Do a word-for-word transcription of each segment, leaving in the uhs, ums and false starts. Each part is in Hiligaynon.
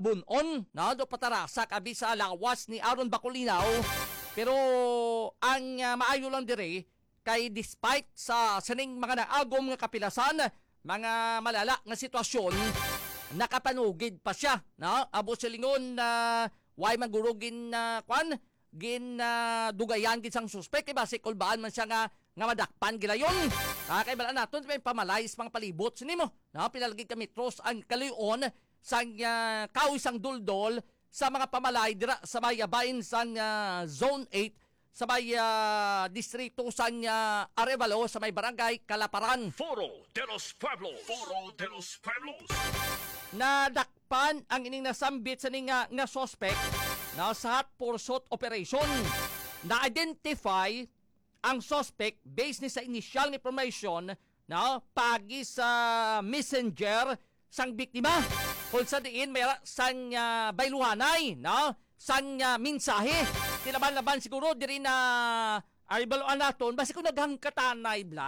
bun-on, no, do patarasa kabi sa lawas ni Aaron Bacolinaw. Pero ang, ah, maayo lang dire kay despite sa sining mga naagom nga kapilasan, mga malala nga sitwasyon, nakapanugid pa siya, no? Abo silingon na way maguro gin, ah, kwan, gin, ah, dugayan gid sang suspek, kay basi kulbaan man siya nga, nga madakpan gilayon. Ah, kay bala naton may pamalay sa mga palibot sini mo, no? Pila lagi ka metros ang kaluyon sang, ah, kahoy sang duldol sa mga pamalay dira sa may bahin sang, ah, Zone eight sa may, ah, distrito sang, ah, Arevalo sa may barangay Kalaparan. Foro de los Pueblos. Foro de los Pueblos. Nadakpan ang ining nasambit sa ninga nga suspect na sa hot pursuit operation. Na-identify ang suspect based ni sa initial nga information, no, pagi sa messenger sang biktima, kung sa diin may ra-, sang, ah, bayluhanay, no, sang, ah, mensahe. Tinaban-laban siguro diri na ay baluan naton, basi kung naghangkatanay bla,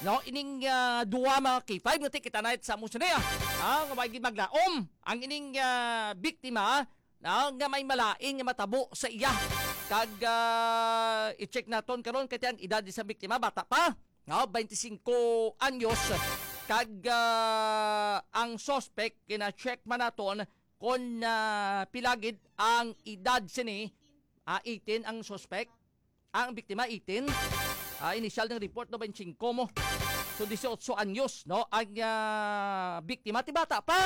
no, ining, ah, duha mga K five nga ti kita na sa mo sini, ah. Ah, nga may gid maglaom ang ining, ah, biktima, no, nga may malain nga matabo sa iya. Kag, ah, i-check naton karon kay ang edad sa biktima bata pa, no, twenty-five anyos. Kag, ah, ang suspect kina-check man naton kon, ah, pila gid ang edad sini. Ah, eighteen ang suspect. Ang biktima, eighteen. Ah, initial ng report, no, twenty-five mo. So, dieciocho anyos, no? Ang, ah, biktima, ti bata pa.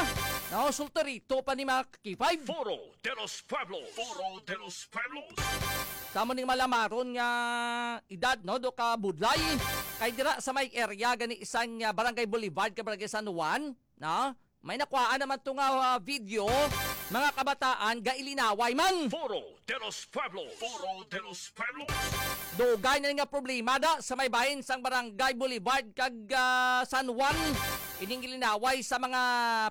No, solterito pa ni mga K five. Foro de los Pueblos. Foro de los Pueblos. Sa mo ning malamaron nga edad, no, do ka budlay. Kay dira sa may area gani isang, ah, Barangay Boulevard, ka Barangay San Juan, no? May nakuhaan naman to nga, ah, video, mga kabataan, gailinaway man. Foro de los Pueblos. Foro de los Pueblos. Dugay na nga problema da sa may bahin sang Barangay Boulevard kag, ah, San Juan. Ining gilinaway sa mga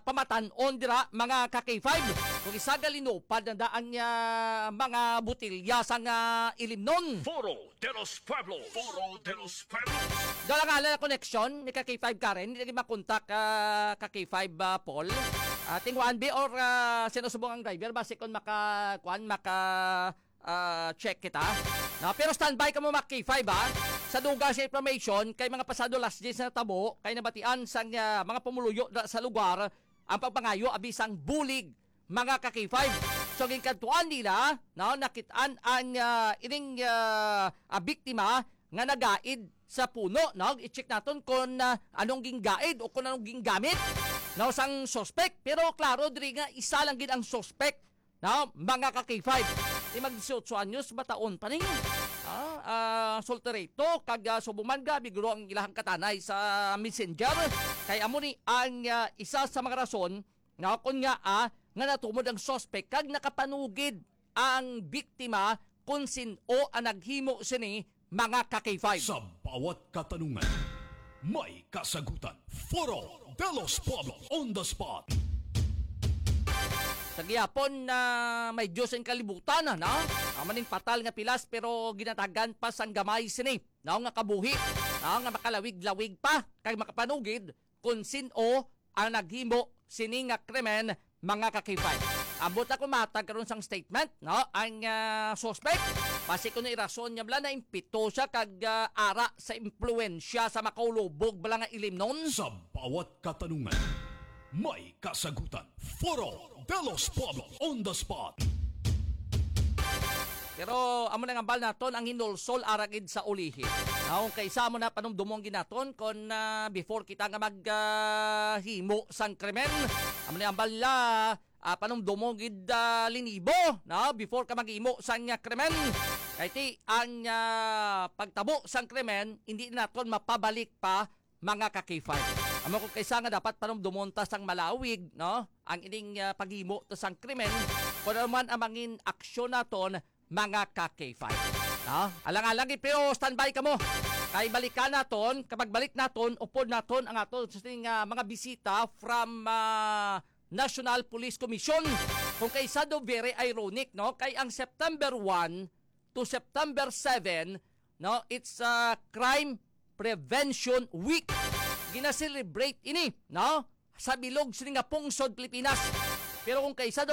pamatan-on dira, mga ka K five. Kung isa galinupad na da ang, ah, mga botilya sang, ah, ilimnon. Foro de los Pueblos. Foro de los Pueblos. Daw lang ala na koneksyon ni ka K five Karen, hindi lagi makontak, ah, ka K five, ah, Paul. Ah, ting one B or, ah, sino subong ang driver, basi kung maka, kuan, maka, ah, check kita. No, pero standby ka mo, mga K five, ha? Sa dugang sa information, kay mga pasado alas diyes na tabo, kay nabatian sang, ah, mga pumuluyo da sa lugar ang pagpangayo abi sang bulig, mga ka K five. So, ginkadtuan nila, no, nakitaan ang, ah, ining, ah, ah, biktima nga nagaid sa puno, no? I-check naton kung, ah, anong ginggaid o kung anong ginggamit, no, sang suspect. Pero klaro diri nga isa lang gid ang suspect, no, mga ka K five. Di mag dieciocho anyos, bataon pa ni. Ah, ah, solterito, kag, ah, subong man, grabe guro ang ilahang katanay sa messenger. Kay amo ni ang, ah, isa sa mga rason, no, kun nga, ah, nga natumod ang suspect kag nakapanugid ang biktima kung sin-o ang naghimo sini, mga ka K five. Sa bawat katanungan, may kasagutan. Foro de los Pueblos on the spot. Sa gihapon na may Diyos ang kalibutan, no? Amo ning patal nga pilas, pero ginatagan pa sang gamay sini, no, nga kabuhi, no, nga makalawig-lawig pa kag makapanugid kung sin-o ang naghimo sini nga krimen, mga ka K five. Ambot ako matag karon sang statement, no? Ang, ah, suspect, basi kuno irason niya bala na impito siya kag, ah, ara sa impluwensya sa makaulubog bala nga ilimnon. Sa bawat katanungan, may kasagutan. Foro de los Pueblos on the spot. Pero amo nang ambal naton ang hinulsol ara gid sa ulihi. Naong kay sa amo na panumdumon gid naton kon, ah, before kita nga mag, ah, himo sang krimen. Amo na ambal la, ah, panumdumon gid, ah, linibo, no? Before ka maghimo sang, ah, krimen. Kay ti ang, ah, pagtabo sang krimen, hindi naton mapabalik pa, mga ka K five. Amo ko kaysa nga dapat panumdumon ta sang malawig, no? Ang ining, ah, paghimo ta sang krimen, kung ano man ang mangin aksyon naton, mga ka K five. No? Alang-alang, pero standby kamo. Kay balikan naton, kapag balik naton, upod naton ang aton sa, ah, mga bisita from, ah, National Police Commission. Kung kaysa do, very ironic, no? Kay ang September one to September seven, no, it's a Crime Prevention Week. Gina-celebrate ini, no, sa bilog sini nga pungsod Pilipinas. Pero kung kaysa daw